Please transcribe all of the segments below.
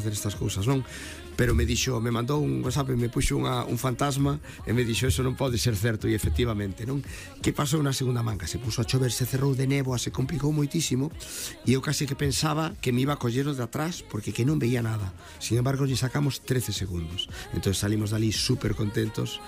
facer estas cousas, non? Pero me mandou un WhatsApp e me puxo un fantasma e me dixo, eso non pode ser certo, e efectivamente, non? Que pasou na segunda manga? Se puso a chover, se cerrou de néboa, se complicou moitísimo, e eu casi que pensaba que me iba a coller o de atrás, porque que non veía nada. Sin embargo, lle sacamos 13 segundos. Entón salimos dali super contentos,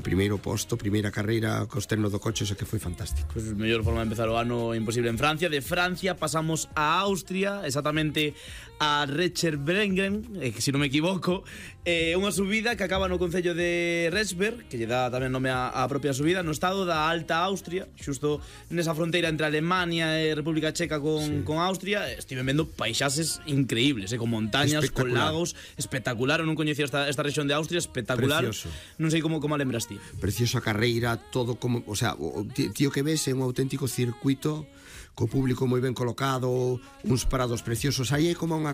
primeiro posto, primeira carreira co externo do coche, o que foi fantástico. Pois a mellor forma de empezar o ano imposible en Francia. De Francia pasamos a Austria, exactamente a Recherbrengen, que se non me equivoco, unha subida que acaba no concello de Resberg, que lle dá tamén nome á propia subida, no estado da Alta Austria, xusto nesa fronteira entre Alemania e República Checa con Austria. Estive vendo paisaxes increíbles, con montañas, con lagos, espectacular. Eu non coñecía esta rexión de Austria, espectacular. Precioso. Non sei como a lembras ti. Preciosa carreira, todo como, o sea, o tío que ves é un auténtico circuito co público moi ben colocado, uns parados preciosos. Aí é como unha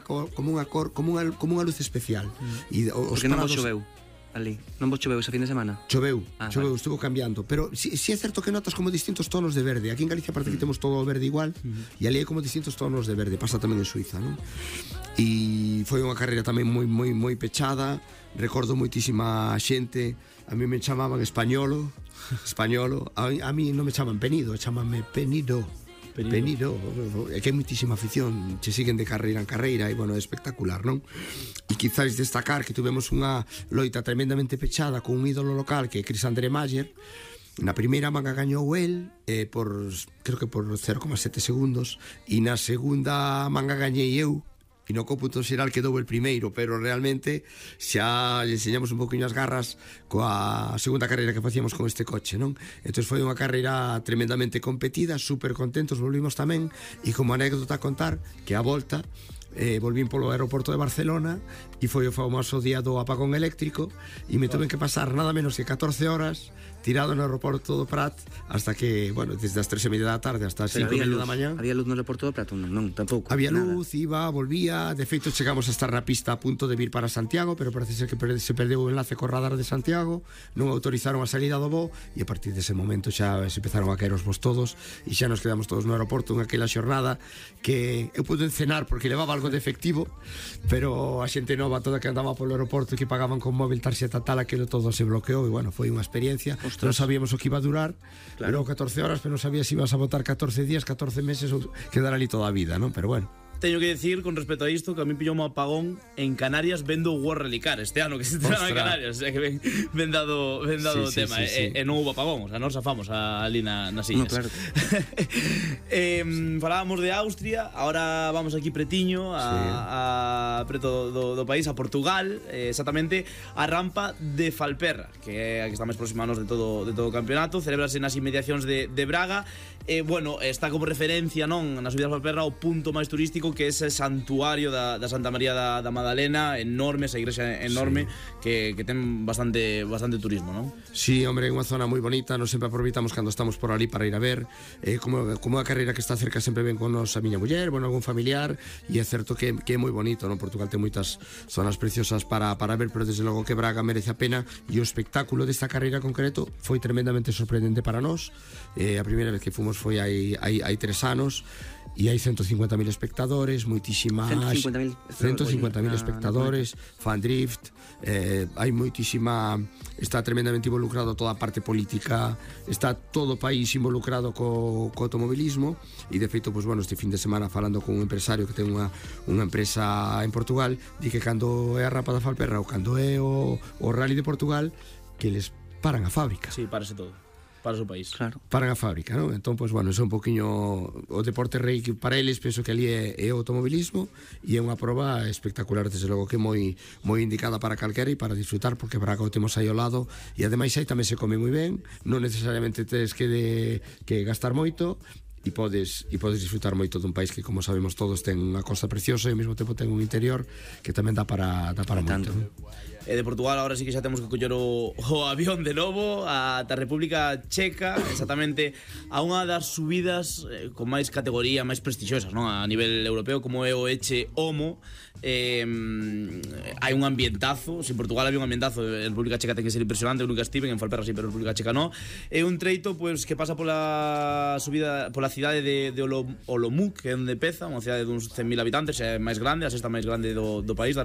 luz especial. E os porque parados... non vos choveu ali? Non vos choveu ese fin de semana? Choveu, vale. Estuvo cambiando. Pero si é certo que notas como distintos tonos de verde. Aquí en Galicia parece que temos todo o verde igual, e ali é como distintos tonos de verde. Pasa tamén en Suiza, non? E foi unha carreira tamén moi pechada. Recordo moitísima xente. A mí me chamaban Españolo. A mí non me chaman Penido, chamanme Penido. É que hai moitísima afición, che siguen de carreira en carreira, e bueno, é espectacular, non? E quizás destacar que tuvemos unha loita tremendamente pechada con un ídolo local que é Chris André Mayer. Na primeira manga gañou el creo que por 0,7 segundos, e na segunda manga gañei eu, e no cómputo xeral quedou el primeiro, pero realmente xa lle enseñamos un poquinho as garras coa segunda carreira que facíamos con este coche, non? Entón foi unha carreira tremendamente competida, super contentos, volvimos tamén, e como anécdota a contar que a volta volvín polo aeroporto de Barcelona e foi o famoso día do apagón eléctrico, e me tuve que pasar nada menos que 14 horas tirado no aeroporto do Prat hasta que, bueno, desde as 3:30 da tarde hasta as 5:30 da mañá. Había luz no aeroporto do Prat? Non, tampouco. Había luz, iba, volvía. De feito, chegamos a estar na pista a punto de vir para Santiago, pero parece ser que se perdeu o enlace co radar de Santiago, non autorizaron a salida do voo, e a partir dese momento xa se empezaron a caer os voos todos, e xa nos quedamos todos no aeroporto en aquela xornada que eu pude encenar porque levaba algo de efectivo, pero a xente nova toda que andaba polo aeroporto e que pagaban con móvil, tarxeta tal, aquilo todo se bloqueou, e bueno, foi unha experiencia. Non sabíamos o que iba a durar, claro. Pero 14 horas, pero non sabías se ibas a botar 14 días, 14 meses ou quedar ali toda a vida, non? Pero bueno. Teño que decir, con respecto a isto, que a mí pillou un apagón en Canarias vendo o World Rally Car este ano, que se estrena en Canarias, o sea que ben dado o tema, e non houve apagón, o sea, non zafamos ali nas illas. No, claro. Falábamos de Austria, ahora vamos aquí pretiño, a preto do país, a Portugal, exactamente a rampa de Falperra, que é a que está máis próxima a nos de todo o campeonato, celebrase nas inmediacións de Braga. Bueno, está como referencia, non, na subida de Falperra o punto máis turístico, que é ese santuario da Santa María da Madalena, enorme, esa igrexa enorme, que ten bastante turismo, non? Sí, hombre, é unha zona moi bonita, nos sempre aproveitamos cando estamos por ali para ir a ver, como a carreira que está cerca sempre ven con nos a miña muller, bueno, algún familiar, e é certo que é moi bonito, non? Portugal ten moitas zonas preciosas para ver, pero desde logo que Braga merece a pena, e o espectáculo desta carreira concreto foi tremendamente sorprendente para nós. A primeira vez que fomos foi hai 3 anos, e hai 150.000 espectadores, moitísima 150.000 espectadores, fan drift, hai moitísima, está tremendamente involucrado toda a parte política, está todo o país involucrado co automobilismo, e de feito, pues, bueno, este fin de semana falando con un empresario que ten unha empresa en Portugal, di que cando é a rampa da Falperra ou cando é o Rally de Portugal, que les paran a fábrica. Sí, parece todo. Para o seu país. Claro. Paran a fábrica, non? Entón, pois, bueno, é un poquinho o deporte rei que para eles penso que ali é o automobilismo, e é unha proba espectacular, desde logo que moi indicada para calquera e para disfrutar, porque Braga o temos aí ao lado, e ademais aí tamén se come moi ben, non necesariamente tes que gastar moito, e podes disfrutar moito dun país que, como sabemos todos, ten unha costa preciosa e ao mesmo tempo ten un interior que tamén dá para moito. De Portugal agora sí que xa temos que coller o avión de novo ata a República Checa, exactamente a unha das subidas con máis categoría, máis prestixosas, non? A nivel europeo, como é o Eche Homo. Hai un ambientazo. Se en Portugal había un ambientazo, en República Checa ten que ser impresionante. Eu nunca estive, en Falperra sí, pero en República Checa non. É un treito, pois, que pasa pola subida, pola cidade de Olomouc, que é onde peza, unha cidade duns 100.000 habitantes, é máis grande, a sexta máis grande do país, da